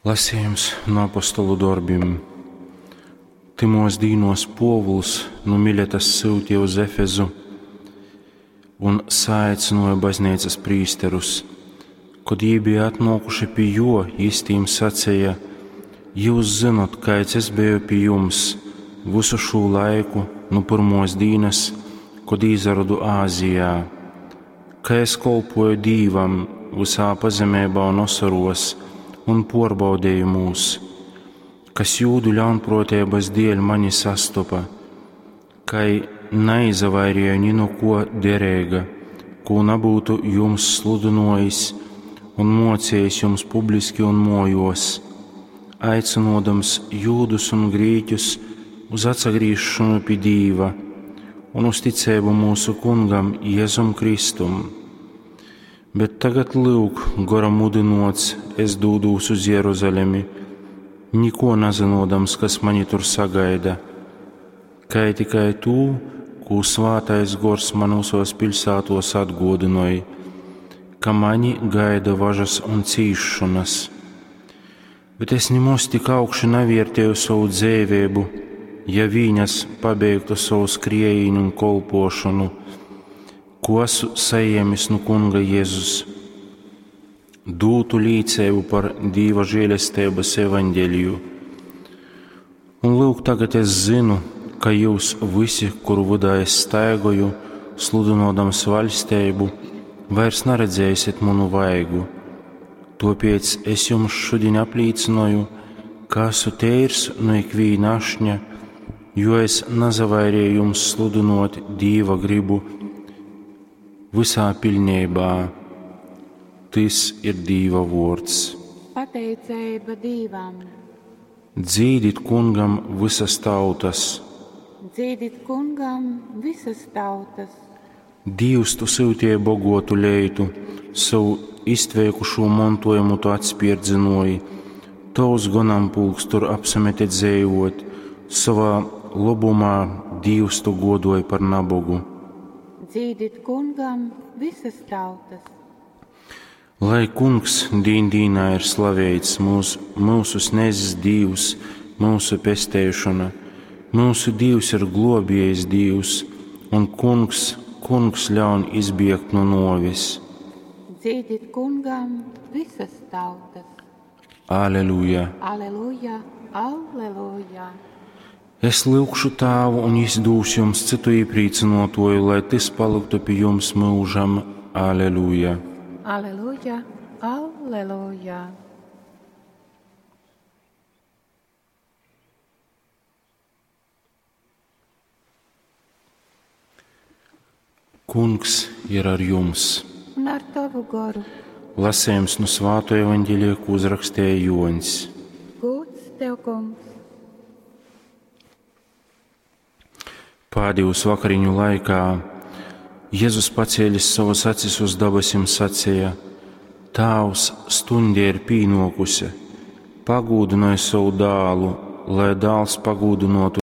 Lasījums no apostolu dorbim. Tymos dīnos Pōvuls nu Miletas syutīja uz Efezu un saaicināja bazneicas prīsterus. Kod jī bija atnōkuši pi jō, jis tīm saceja: Jyus zynot, kaids es beju pi jums vysu šū laiku nu pyrmōs dīnas, kod īsarodu Āzijā, ka es kolpoju Dīvam vysā pazemeibā un osorōs un pōrbaudejumūs, kas jūdu ļaunprōteibas dēļ mani sastopa, kai naizavairēju ni nu kō dereiga, kū nabyutu jums sludynōjis un mōcejis jums publiski un mōjōs, aicynōdams jūdus un grīķus uz atsagrīzšonu pi Dīva un uz ticeibu myusu Kungam Jezum Kristum. Bet tagad, lyuk, gora mudynōts, es dūdūs uz Jeruzalemi, nikō nazynōdams, kas mani tur sagaida, kai tikai tū, kū Svātais Gors man visos piļsātos atgōdynoj, ka mani gaida važas un cīsšonas. Bet es nimoz tik augši navērtēju sovu dzeiveibu, ja vīn es pabeigtu sovu skriejīnu un kolpošanu, ko esmu sajēmis nu Kunga Jēzus, dūtu līceibu par Dīva žēlesteibas evaņģeliju. Un lūk, tagad es zinu, ka jūs visi, kuru vydā es staigoju, sludynodams vaļsteibu, vairs naredzēsiet manu vaigu. Tāpēc es jums šodien aplīcinoju, ka esmu teirs no ikvīna ašņa, jo es nazavairēju jums sludinot Dīva gribu visā pilnībā. Tys ir Dīva vōrds. Pateiceiba Dīvam. Dzīdit kungam visas tautas. Dzīdit kungam visas tautas. Dīvs, tu syutīji bogotu leitu, savu iztveikušū montojumu tu atspierdzinoji. Tovs gonampulks tur apsamete dzejot, savā lobumā Dīvs tu godoji par nabogu. Dzīdit kungam visas tautas. Lai kungs dīn dīnā ir slaveits mūsu, mūsu snezis Dīvs, mūsu pesteišana. Mūsu Dīvs ir globiejs Dīvs, un kungs, kungs ļaun izbiegt no novis. Dzīdit kungam visas tautas. Aleluja! Aleluja, aleluja. Es lūgšu tāvu, un jis dūs jums citu iepriecinotoju, lai tys paliktu pi jums mūžam. Aleluja! Aleluja, aleluja. Kungs ir ar jums! Un ar tavu goru. Lasējums no Svāto evaņģēlija, ko uzrakstīja Joņs. Gūds tev, kungs. Pādījus vakariņu laikā Jēzus pacēlis savas acis uz dabasim sacīja: Tāvs, stunde ir pīnokusi, pagūdināj savu dālu, lai dāls pagūdinotu